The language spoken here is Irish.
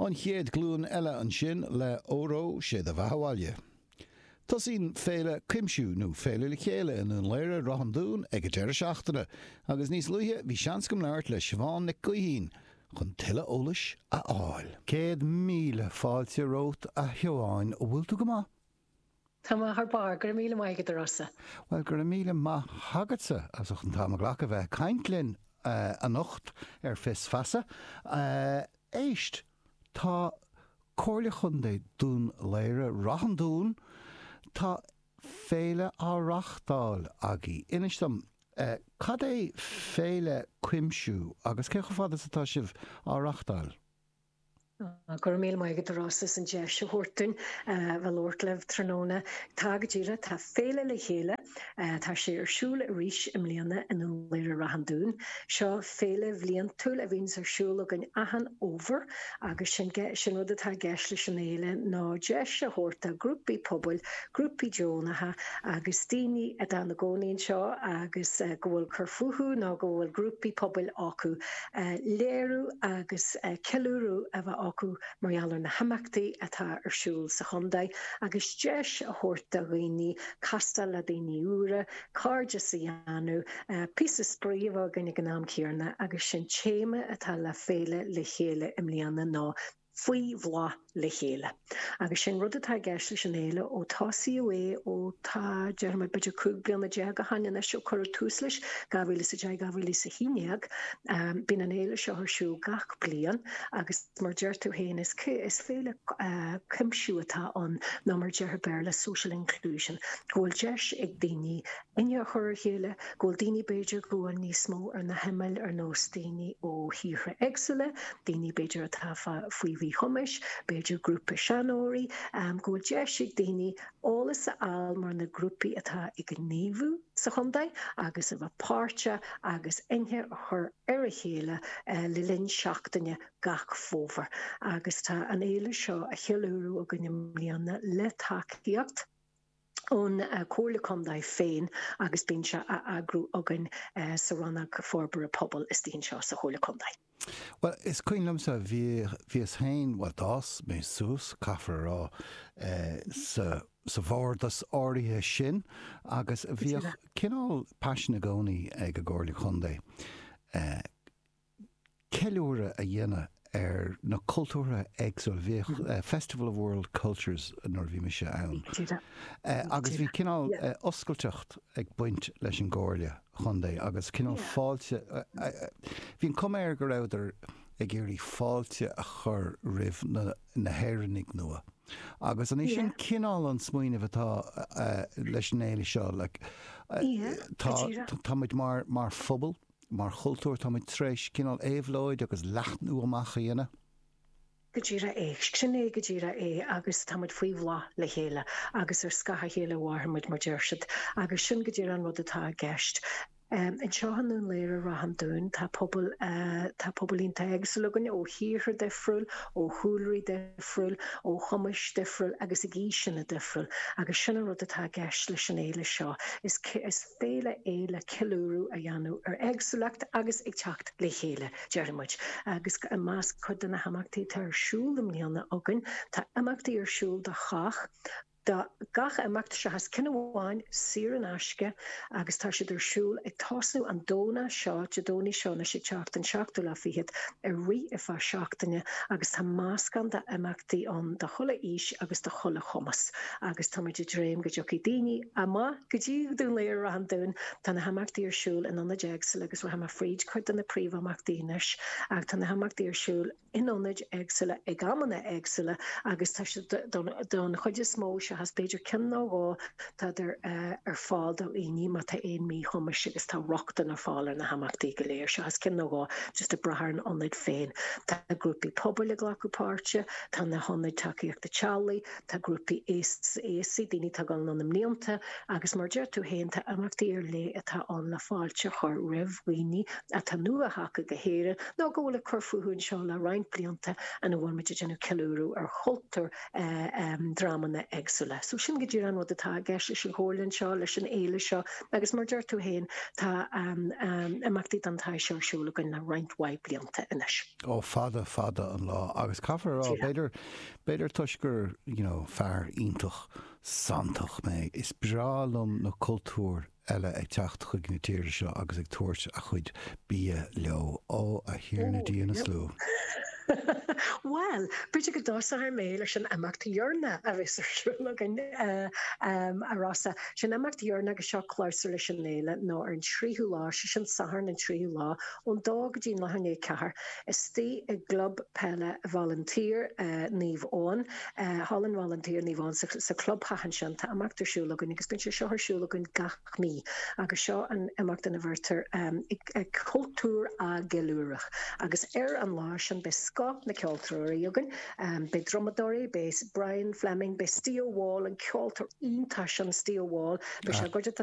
An Chéad Ghlúin Eile ansin le Óró Sé do Bheatha 'Bhaile. Tosaíonn Féile Cuimsiú, nó Féile Le Chéile i nDún Laoghaire, Ráth an Dúin ag an deireadh seachtaine agus níos luaithe bhí seans agam labhairt le Siobhán Nic Gaoithín chun tuilleadh eolais a fháil. 100,000 fáilte romhat a Shiobháin, an bhfuil tú go maith? Tá mé thar barr, go raibh míle maith agat a Rossa. Bhuel, go raibh míle maith agatsa as ucht an t-am a ghlacadh a bheith ag caint linn anocht ar Fios Feasa. Éist, tá Comhairle Chontae Dún Laoghaire, Ráth an Dúin, tá féile á reachtáil agaibh. Inis dom, cad é Féile Cuimsiú agus cé chomh fada is atá sibh á reachtáil? Go raibh míle maith agat a Rossa as an deis a thabhairt dúinn bheith ag labhairt libh tráthnóna. Tá go díreach, tá Féile le Chéile, tá sé ar siúl arís i mbliana i nDún Laoghaire Ráth an Dúin. Seo féile bhliantúil a bhíonns ar siúl againn achan fhómhar agus sin sin rud atá i gceist leis an fhéile ná deis a thabhairt do ghrúpaí pobail, grúpaí deonacha agus daoine atá ina gcónaí anseo agus go bhfuil cur fúthu nó go bhfuil grúpaí pobail acu léiriú agus ceiliúradh a bheith acu mar gheall ar na himeachtaí atá ar siúl sa chontae agus deis a thabhairt do dhaoine castáil le daoine úra, cairdeas a dhéanamh, píosa spraoi a bheith againn ag an am céanna agus sin téama atá le Féile Le Chéile i mbliana ná Faoi Bhláth Le Chéile. Agus sin rud atá i gceist leis an fhéile ó tosaíodh é ó tá, déarfaidh mé, b'fhéidir 15 bliana ó shin anois ó cuireadh tús leis, 2010, 2011. Bíonn an fhéile seo ar siúl gach bliain agus mar deir tú féin is is féile cuimsiú atá ann nó mar deirtear i Béarla social inclusion, go bhfuil deis ag daoine aithne a chur ar a chéile, go bhfuil daoine b'fhéidir go bhfuil níos mó ar na himill ar nós daoine ó thíortha éagsúla, daoine b'fhéidir atá faoi mhíchumais, b'fhéidir grúpa seanóirí, go bhfuil deis ag daoine eolas a fháil mar na grúpaí atá ag gníomhú sa chontae agus a bheith páirteach agus aithne a chur ar a chéile le linn seachtaine gach fómhar. Agus tá an fhéile seo á cheiliúradh againn i mbliana le tacaíocht. ón Chomhairle Contae féin agus bíonn sé á eagrú againn sa Rannóg Forbartha Pobail istigh anseo sa Chomhairle Contae. Bhuel, is cuimhin liomsa, bhí, bhíos féin, bhuel d'fhás mé suas, caithfear a rá, sa, sa bhardas áirithe sin agus bhíodh cineál paisean i gcónaí ag an gComhairle Contae ceiliúradh a dhéanamh ar na cultúrtha éagsúla. Bhíodh Festival of World Cultures nuair a bhí mise ann agus bhí cineál oscailteacht ag baint leis an gComhairle Chontae agus cineál fáilte, bhí an cuma air go rabhadar ag iarraidh fáilte a chur roimh na hÉireannaigh nua. Agus an é sin cineál an smaoineamh atá leis an fhéile seo? Like, tá, tá muid mar, mar phobal, Mar chultúr, táimid tar éis cineál éabhlóid agus leathnú amach a dhéanamh. Go díreach é. Sin é go díreach é agus táimid faoi bhláth le chéile agus ar scáth a chéile a mhairfimid mar deir siad agus sin go díreach an rud atá i gceist. Anseo i nDún Laoghaire Ráth an Dúin tá pobal tá pobal iontach éagsúil againn ó thíortha difriúil, ó chúlraí difriúil, ó chumais difriúil agus ag aoiseanna difriúil agus sin an rud atá i gceist leis an fhéile seo. Is is. Féile é le ceiliúradh a dhéanamh ar éagsúlacht agus ag teacht le chéile, déarfaidh muid. Agus i measc cuid de na himeachtaí atá ar siúl i mbliana againn, tá imeachtaí ar siúl do chách, do gach imeacht seachas ceann amháin, saor in aisce, agus tá siad ar siúl ag tosnú an Domhnach seo, Dé Domhnaigh seo anois ag teacht, an seachtú lá fichead, ag rith ar feadh seachtaine agus tá meascán d'imeachtaí ann do chuile aois agus do chuile chumas agus táimid ag dréim go dtiocfaidh daoine amach Go dtí Dún Laoghaire Ráth an Dúin, tá na himeachtaí ar siúl in ionaid éagsúla agus rachaidh mé fríd cuid de na príomhimeachtaí anois ach tá na himeachtaí ar siúl in ionaid éagsúla ag amanna éagsúla agus tá siad don chuid is mó, seachas b'fhéidir ceann nó dhó, tádar ar fáil do dhaoine má tá aon míchumais agus tá rochtain ar fáil ar na himeachtaí go léir, seachas ceann nó dhó, just ag brath ar an ionad féin. Tá grúpaí pobail ag glacadh páirte, tá na hionaid tacaíochta teaghlaigh, Tá grúpaí aosaigh, daoine atá ag dul anonn i mblianta, agus mar a deir tú féin, tá imeachtaí ar leith atá ann le fáilte a chur roimh dhaoine atá nua-thagtha go hÉirinn nó go bhfuil ag cur fúthu anseo le roinnt. roinnt blianta ina bhfuil muid ag déanamh ceiliúradh ar chultúr dreamanna éagsúla. So sin go díreach an rud atá i gceist leis an Chomhairle anseo, leis an fhéile seo agus mar deir tú féin tá imeachtaí den tsaghas seo ar siúl againn le roinnt mhaith blianta anois. Ó fada fada an lá agus caithfear a rá b'fhéidir, b'fhéidir toisc gur you know fear iontach santach mé, is breá liom na cultúir eile ag teacht chuig na tíre seo agus ag tabhairt a chuid bia leo. Ó, a Thiarna Dia na Slua. Bhuel, b'fhéidir go dtosóidh mé leis an imeacht dheireanach a bheas ar siúl againn, a Rossa. Sé an imeacht dheireanach agus seo clabhsúr leis an fhéile ná ar an tríú lá, sé sin Satharn an tríú lá, ón dó go dtí an leathuair i ndiaidh a ceathair, istigh i gClub Peile Bhaile an tSaoir, Naomh Eoin. Thall in Bhaile an tSaoir, Naomh Eoin, sa chlubtheach ansin. Tá imeacht ar siúl againn agus bíonn sé seo ar siúl againn gach mí agus seo an imeacht ina bhfuiltear cultúr á gceiliúradh. Agus ar an lá sin beidh scoth na ceoltóirí againn, beidh drumadóirí, beidh Brian Fleming, beidh Steve Wall, an ceoltóir iontach sin Steve Wall, beidh sé i gcuideachta le.